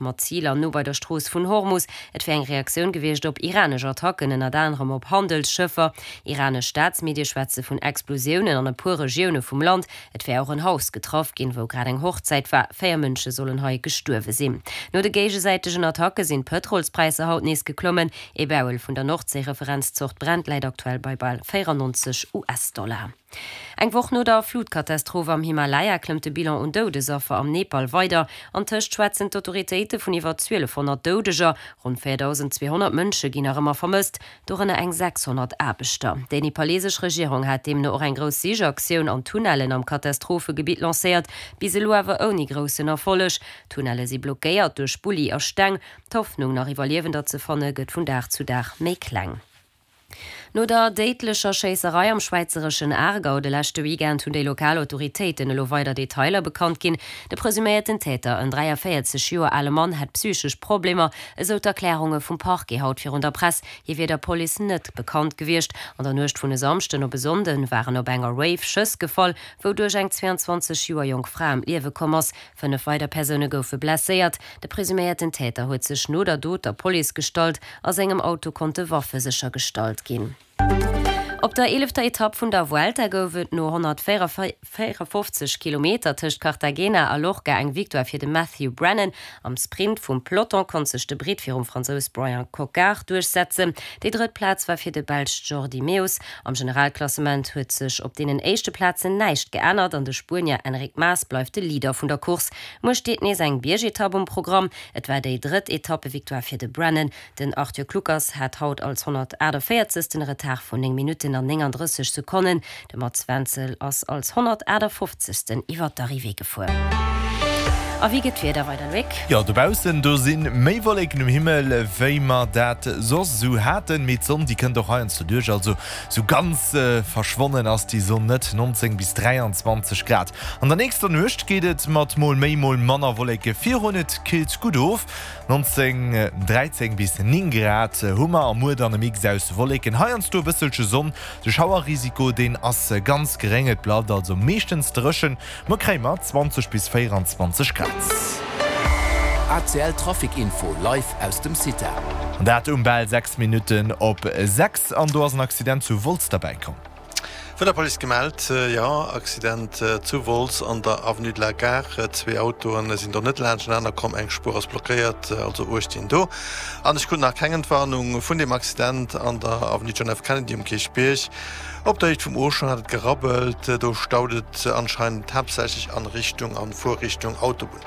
Mat Ziler no bei der Strooss vun Hormus. Et wär eng Reaktioun gewiescht op iranesch Attacken, ënnert anerem op Handelsschëffer. Iranesch Staatsmedie schwätze vun Explosiounen an e puer Regioune vum Land. Et wär och en Haus getraff ginn, wou grad eng Hochzäit war. 4 Mënsche sollen hei gestuerwe sinn. No de géigesäitegen Attacke sinn d'Pëtrolspräisser haut nees geklommen. Ee Barrel vun der Nordséi-Referenzzort Brent läit aktuell bei bal 94 US-Dollar. Eng Woch no der Flutkatastroph am Himalaya klëmmt de Bilan un Doudesaffer am Nepal weider. Antëscht schwätzen d'Autoritéite vun iwwer 1.200 Doudeger. Ronn 4.200 Mënsche ginn nach ëmmer vermësst, dorënner eng 600 Aarbechter. Déi nepalesesch Regierung hat deemno och eng grouss Sichaktioun an Tunnellen am Katastrophegebitt lancéiert, bis elo awer ouni groussen Erfolleg. D'Tunnelle si blockéiert duerch Bulli a Steng. D'Hoffnung, nach Iwwerliewender ze fanne, gëtt vun Dag zu Dag méi kleng. No der déidlecher Schéisserei am schwäizereschen Aargau de leschte Weekend hunn déi lokal Autoritéiten elo weider Detailer bekannt ginn. De presuméierten Täter, en 43 Joer ale Mann, hätt psychesch Problemer, esou d'Erklärunge vum Parquet haut virun der Press. Hie wier der Police net bekannt gewiescht. An der Nuecht vun e Samschden op e Sonnde waren op enger Rave Schëss gefall, wouduerch eng 22 Joer jonk Fra ëm d'Liewe komm ass. 5 weider Persoune goufe blesséiert. De presuméierten Täter huet sech no der Dot der Police gestallt. A sengem Auto konnte Waffe séchergestallt ginn. Op der eelefter Etapp vun der Vuelta gouf et no 154 Kilometer tëscht Cartagena a Lorca eng Victoire fir de Matthew Brennan. Am Sprint vum Peloton konnt sech de Britt virum Fransous Bryan Coquard duerchsetzen. Déi drëtt Plaz war fir de Belsch Jordi Meeus. Am Generalklassement huet sech op deenen éischte Plazen näischt geännert an de Spuenier Enric Mas bleift de Leader vun der Course. Muer steet nees eng Biergetapp um Programm. Et war déi drëtt Etappevictoire fir de Brennan. Den Arthur Kluckers hat haut als 148. e Retard vun 9 Minutten an 39 Sekonnen. De Mats Wenzel ass als 158. Iwwer d'Arrivée gefuer. A wéi gëtt d'Wieder weider, Loïc? Jo, dobaussen do si méi Wolleken um Himmel, wéi mer dat soss esou haten, mee d'Sonn déi kënnt och heiansdo duerch, also sou ganz verschwonnen ass déi Sonn net. 19 bis 23 Grad. An der nächster Nuecht geet et mat mol méi, mol manner Wolleke virun, et killt gutt of, 19, 13 bis 9 Grad hu mer a muer dann e Mix aus Wolleken, heiansdo e bësselche Sonn. De Schauerrisiko deen ass ganz geréng, et bleift also meeschtens dréchen. Muer kréie mer 20 bis 24 Grad. ACL Trafic Info live aus dem CITA. An dat um bal 6 Minutten op 6. An do ass en Accident zu Wolz derbäi komm. Vun der Police gemellt, Jo, Accident zu Wolz an der Avenue de la Gare. Zwee Autoen sinn do net laanschtenaner komm, eng Spuer ass blockéiert, also Uecht dinn do. An ech krut nach keng Entwarnung vun deem Accident an der Avenue John F. Kennedy um Kierchbierg. Op der Héicht vum Auchan hat et gerabbelt, do staut et anscheinend haaptsächlech an Richtung an Fuerrichtung Autobunn.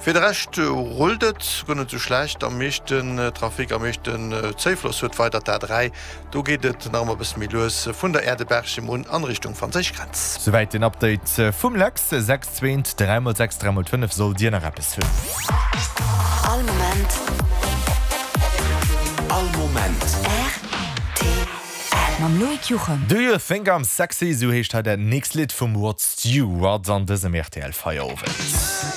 Fir de Rescht rullt et guer net sou schlecht. Am meeschten Trafic, am meeschten Zéifloss huet weider d'A3. Do geet et nach ëmmer e bësse méi lues vun der Aire de Berchem un an Richtung franséisch Grenz. Souwäit den Update vum Lex. 6 zweent, 3 mol 6, 3 mol 5 sollt dir nach eppes hunn. All Moment. All Moment. Rtl. Mam Loïc Juchem. Do you think I'm sexy, esou heescht hei dat nächst Lidd vum Rod Stewart an dësem rtl Feierowend.